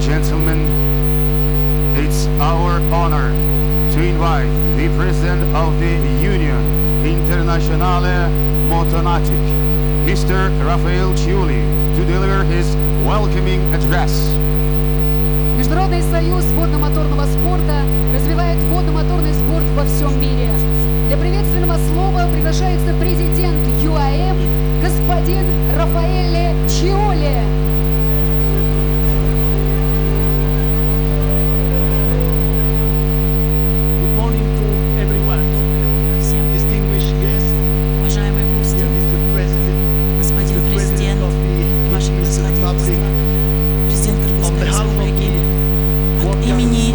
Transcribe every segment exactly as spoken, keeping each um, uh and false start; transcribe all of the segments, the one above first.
gentlemen, it's our honor to invite the President of the Union Internazionale Motonautic, Mister Rafael Ciulli, to deliver his welcoming address. Международный союз водно-моторного спорта развивает водно-моторный спорт во всем мире. Для приветственного слова приглашается президент ю а эм господин Рафаэле Чиолли.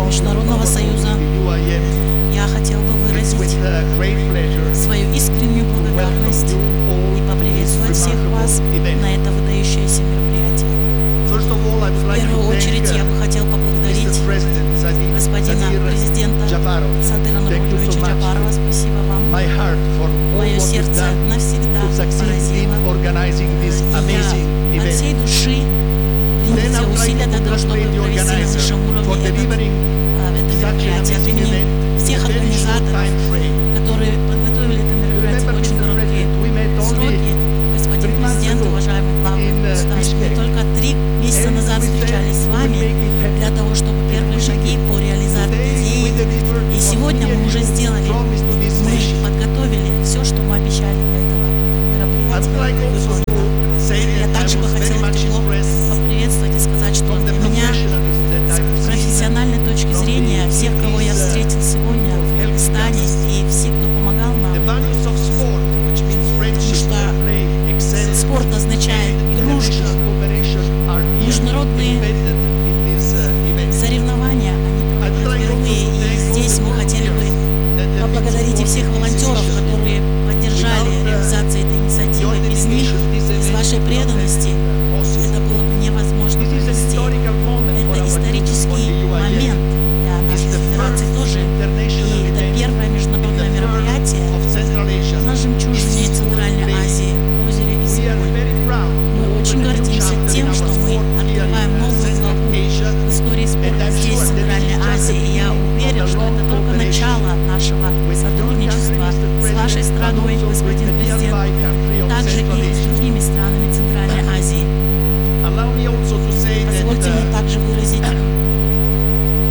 Международного союза я хотел бы выразить свою искреннюю благодарность и поприветствовать всех вас на это выдающееся мероприятие. В первую очередь я бы хотел поблагодарить господина президента Садыра Нуркуловича Джапарова. Спасибо вам. Мое сердце навсегда поразило. Я от всей души принял все усилия для того, чтобы провести на высшем уровне этот мероприятие. От имени всех организаторов, которые подготовили это мероприятие в очень короткие сроки, господин президент, уважаемый главный государства, мы только три месяца назад встречались с вами для того, чтобы первые шаги по реализации идеи. И сегодня мы уже сделали, мы подготовили все, что мы обещали для этого мероприятия. Я также бы хотела тепло поприветствовать и сказать, что для меня с профессиональной точки зрения всех, кого я встретил сегодня в Кыргызстане и все, кто помогал нам, потому что спорт означает дружбу, международные соревнования, они проходят впервые, и здесь мы хотели бы поблагодарить и всех волонтеров, которые поддержали реализацию этой инициативы. Без них, без вашей преданности, это было бы невозможно провести. Это исторический момент для нашей федерации тоже. И это первое международное мероприятие на жемчужине Центральной Азии, озере Исыкуль. Мы очень гордимся тем, что мы открываем новую главу в истории спорта здесь, в Центральной Азии. И я уверен, что это только начало нашего сотрудничества с вашей страной, господин президент, также и с другими странами Центральной Азии. Позвольте мне также выразить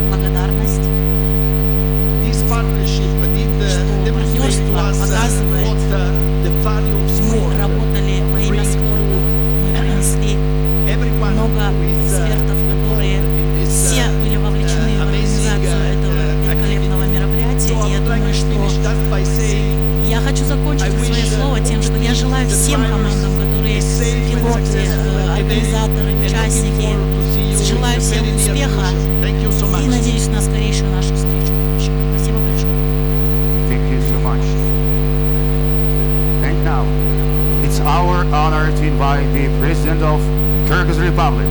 благодарность, что партнерство показывает, мы работали во имя спорта, мы принесли много экспертов, которые все были вовлечены в организацию этого великолепного мероприятия. И я думаю, что я хочу закончить свое слово тем, что я желаю всем командам, которые пилоты, организаторы, участники, желаю всем успеха и надеюсь на скорейшую нашу встречу. Спасибо большое. Thank you so much. And now, it's our honor to invite the President of Kyrgyz Republic,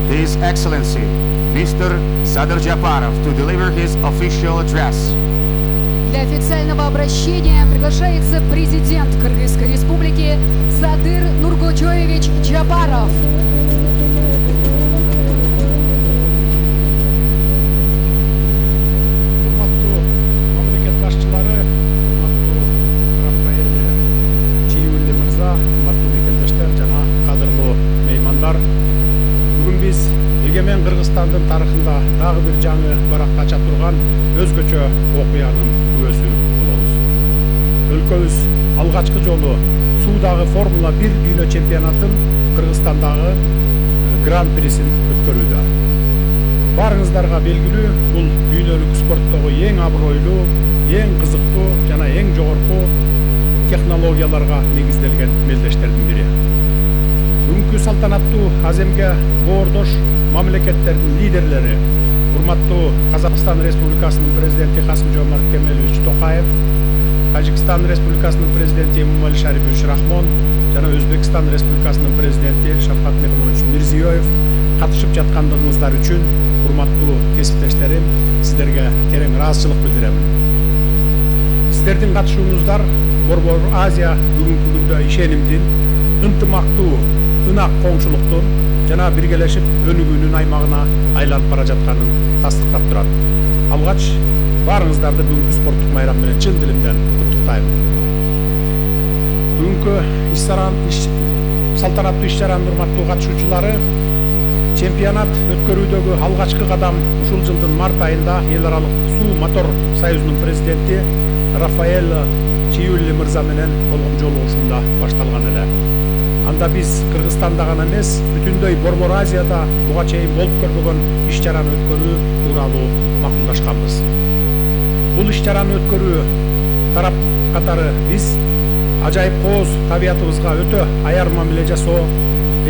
His Excellency, Mister Sadyr Japarov, to deliver his official address. Для официального обращения приглашается президент Кыргызской республики Садыр Нуркулович Джапаров. Урматтуу мамлекет башчылары, урматтуу Рафаэле Чиолли мырза, урматтуу мекендештер жана кадырлуу меймандар. Бүгүн биз эгемен Кыргызстандын тарыхында дагы бир жаңы баракка ача турган өзгөчө окуянын күбөсү болобуз. Өлкөбүз алгачкы жолу суудагы Формула бир дүйнө чемпионатын Кыргызстандагы Гран-присин өткөрүүдө. Барыңыздарга белгилүү, бул дүйнөлүк спорттогу эң абройлуу, эң кызыктуу жана эң жогорку технологияларга негизделген мелдештердин бири. Бүгүнкү салтанаттуу аземге боордош мамлекеттердин лидерлери, урматтуу Казакстан Республикасынын президенти Касым-Жомарт Кемелович Токаев, Тажикстан Республикасынын президенти Эмомали Шарипович Рахмон жана Өзбекстан Республикасынын президенти Шавкат Мирзиёевич Мирзиёев катышып жаткандыгыңыздар үчүн, урматтуу кесиптештерим, сиздерге терең ыраазычылык билдиремин. Сиздердин катышууңуздар Борбор Азия бүгүнкү күндө ишенимдин, ынтымактуу, ынак коңшулуктун, жана биргелешип өнүгүүнүн аймагына айланып бара жатканын тастыктап турат. Алгач баарыңыздарды бүгүнкү спорттук майрам менен чын дилимден куттуктайм. Бүгүнкү салтанаттуу иш-чаранын урматтуу катышуучулары, чемпионат өткөрүүдөгү алгачкы кадам ушул жылдын март айында эл аралык суу мотор союзунун президенти Рафаэль Чиюлли мырза менен болгон жолугушууда башталган эле. Анда биз Кыргызстанда гана эмес, бүтүндөй Борбор Азияда буга чейин болуп көрбөгөн иш-чараны өткөрүү тууралуу макулдашканбыз. Бул иш-чараны өткөрүү тарап катары биз ажайып кооз табиятыбызга өтө аяр мамиле жасоо,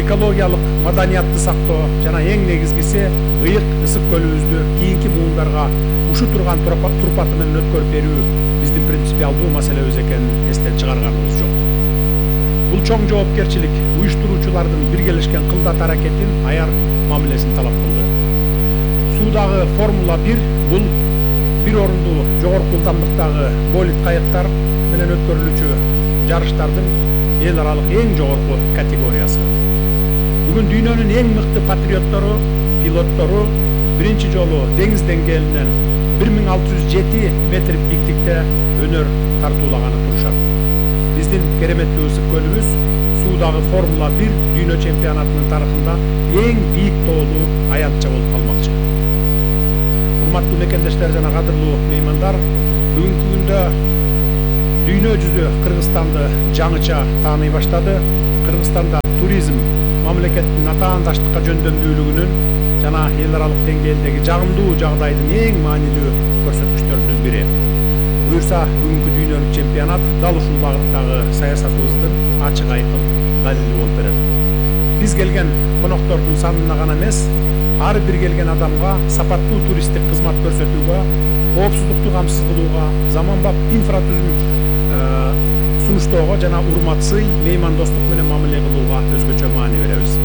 экологиялык маданиятты сактоо жана эң негизгиси ыйык ысык көлүбүздү кийинки муундарга ушу турган турпаты менен өткөрүп берүү биздин принципиалдуу маселебиз экенин эстен чыгарганыбыз жок. Бул чоң жоопкерчилик уюштуруучулардын биргелешкен кылдат аракетин аяр мамилесин талап кылды. Суудагы Формула бир бул бир орунду жогорку ылдамдыктагы болид кайыктар менен өткөрүлүүчү жарыштардын эл аралык эң жогорку категориясы. Бүгүн дүйнөнүн эң мыкты патриоттору, пилоттору биринчи жолу деңиз деңгээлинен бир миң алты жүз жети метр бийиктикте өнөр тартуулаганы турушат. Биздин кереметтүү ысык көлүбүз суудагы Формула бир дүйнө чемпионатынын тарыхында эң бийик тоолуу аянтча болуп калмакчы. Урматтуу мекендештер жана кадырлуу меймандар, бүгүнкү күндө дүйнө жүзү Кыргызстанды жаңыча тааный баштады. Кыргызстанда туризм мамлекеттин атаандаштыкка жөндөмдүүлүгүнүн жана эл аралык деңгээлдеги жагымдуу жагдайдын эң маанилүү көрсөткүчтөрүнүн бири. Буюрса, бүгүнкү дүйнөлүк чемпионат дал ушул багыттагы саясатыбыздын ачык айкын далили болуп берет. Биз келген коноктордун санына гана эмес, ар бир келген адамга сапаттуу туристтик кызмат көрсөтүүгө, коопсуздукту камсыз кылууга, заманбап инфратүзүм сунуштоого жана урматсый меймандостук менен мамиле кылууга өзгөчө маани беребиз.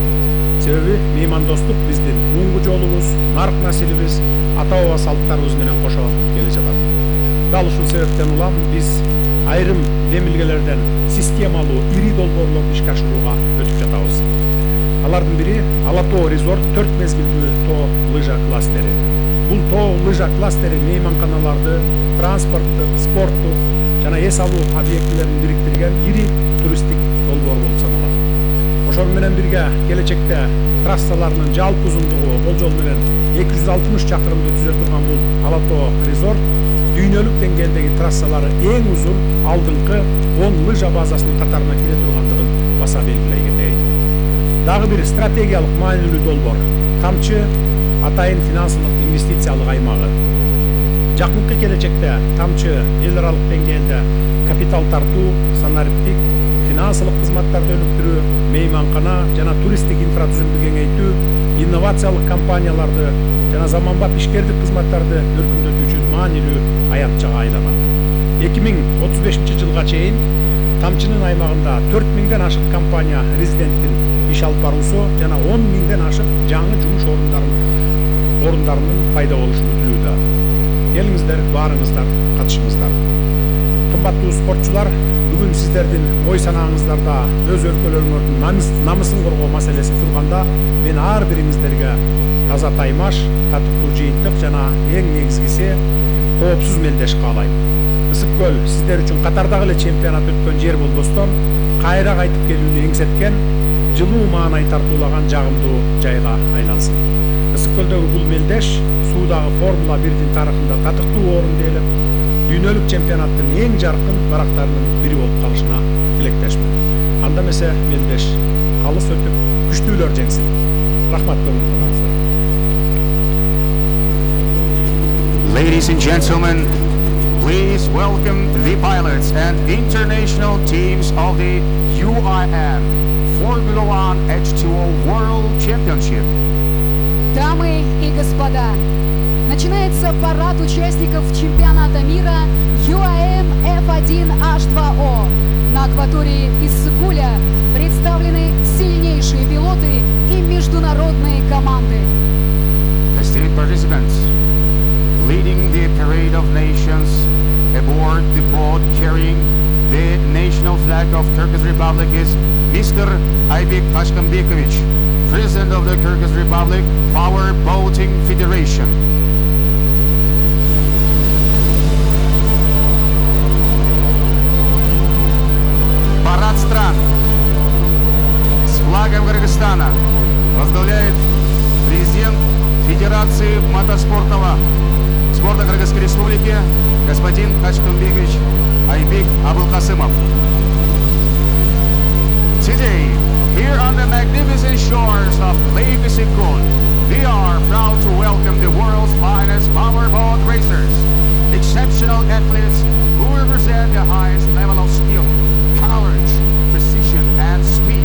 Себеби меймандостук биздин муңгу жолубуз, нарк населибиз, ата баба салттарыбыз менен кошо келе жатат. Дал ушул себептен улам биз айрым демилгелерден системалуу ири долбоорлорду ишке ашырууга өтүп жатабыз. Алардын бири Ала-Тоо резорт төрт мезгилдүү тоо лыжа кластери. Бул тоо лыжа кластери мейманканаларды, транспортту, спортту жана эс алуу объектилерин бириктирген ири туристтик долбоор болуп саналат. Ошол менен бирге келечекте трассаларынын жалпы узундугу болжол менен эки жүз алтымыш чакырымды түзө турган бул Ала-Тоо резорт дүйнөлүк деңгээлдеги трассалары эң узун алдыңкы он лыжа базасынын катарына кире тургандыгын баса белгилей кетейин. Дагы бир стратегиялык маанилүү долбоор Тамчы атайын финансылык инвестициялык аймагы. Жакынкы келечекте Тамчы эл аралык деңгээлде капитал тартуу, санариптик, финансылык кызматтарды өнүктүрүү, мейманкана жана туристтик инфратүзүмдү кеңейтүү, инновациялык компанияларды жана заманбап ишкердик кызматтарды өркүндөтүү үчүн маанилүү аянтчага айланат. эки миң отуз бешинчи жылга чейин Тамчынын аймагында төрт миңден ашык компания резиденттин иш алып баруусу жана он миңден ашык жаңы жумуш орундарын орундарынын пайда болушу күтүлүүдө. Келиңиздер, баарыңыздар катышыңыздар. Кымбаттуу спортчулар, бүгүн сиздердин ой санааңыздарда өз өлкөлөрүңөрдүн намысын коргоо маселеси турганда, мен ар бириңиздерге таза таймаш, татыктуу жыйынтык жана эң негизгиси коопсуз мелдеш каалайм. Ысык көл сиздер үчүн катардагы эле чемпионат өткөн жер болбостон, кайра кайтып келүүнү эңсеткен, жылуу маанай тартуулаган жагымдуу жайга айлансын. Ысык көлдөгү бул мелдеш суудагы Формула бирдин тарыхында татыктуу орун ээлеп, дүйнөлүк чемпионаттын эң жаркын барактарынын бири болуп калышына тилектешмин. Анда эмесе мелдеш калыс өтүп, күчтүүлөр жеңсин. Рахмат көңүлүңүзгө. Ladies and gentlemen, please welcome the pilots and international teams of the U I M Formula One H two O World Championship. Дамы и господа, начинается парад участников чемпионата мира ю эй эм эф один эйч два о. На акватории Иссык-Куля представлены сильнейшие пилоты и международные команды. Esteemed participants, leading the parade of nations aboard the boat carrying the national flag of Kyrgyz Republic is Mister Aybek Tashkanbekovich President of the Kyrgyz Republic Power Boating Federation. Парад стран с флагом Кыргызстана возглавляет президент Федерации мотоспортного спорта Кыргызской Республики господин Ачкымбекович Айбек Абылкасымов. Today, here on the magnificent shores of Lake Issyk-Kul, we are proud to welcome the world's finest powerboat racers, exceptional athletes who represent the highest level of skill, courage, precision, and speed.